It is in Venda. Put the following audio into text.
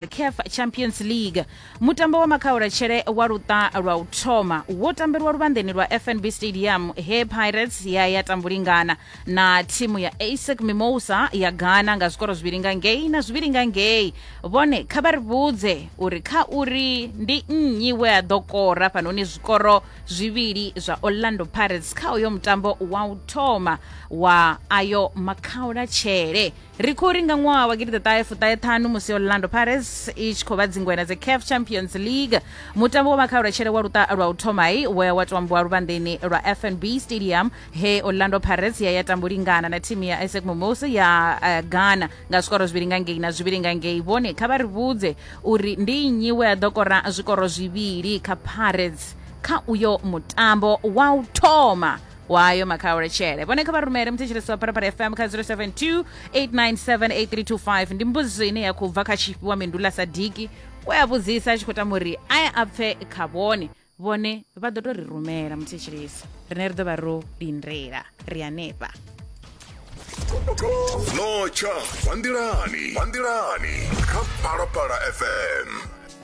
CAF Champions League. Mutambo wa makhaulatshele wa luṱa lwa u thoma wo tambelwa luvhanḓeni lwa FNB Stadium he Pirates ya ya tambulingana na thimu ya ASEC Mimosa ya Ghana nga zwikoro zwivhili nga ngei na zwivhili nga ngei. Vhone kha vha ri vhudze uri kha uri ndi nnyi we a ḓo kora fhanoni zwikoro zwivhili zwa Orlando Pirates kha uyo mutambo wa u thoma wa ayo makhaulatshele. Ri khou ri nga ṅwaha wa gidiḓaṱahe fuṱahe ṱhanu musi Orlando Pirates i tshi khou vha dzingwena dze CAF Champions League, mutambo wa makhaulatshele wa luṱa lwa u thomai we wa tambiwa luvhanḓeni lwa FNB Stadium he Orlando Pirates ya ya tambulingana na thimu ya ASEC Mimosa ya uh, Ghana nga zwikoro zwivhili nga ngei na zwivhili nga ngei. Vhone kha vha ri vhudze uri ndi nnyi we a ḓo kora zwikoro zwivhili kha Pirates kha uyo mutambo wa u thoma wayo makhaulatshele. Vhone kha vha rumele muthetshelesi wa Phalaphala FM kha 072 897 8325. Ndi mbudziso ine ya khou bva kha Tshifhiwa Mindula Sadiki we a vhudzisa a tshi khou tama uri a ye a pfe kha vhone. Vhone vha ḓo tou ri rumela muthetshelesi, rine ri ḓo vha ro lindela ri hanefha. Notsha vha nḓilani, vha nḓilani kha Phalaphala FM.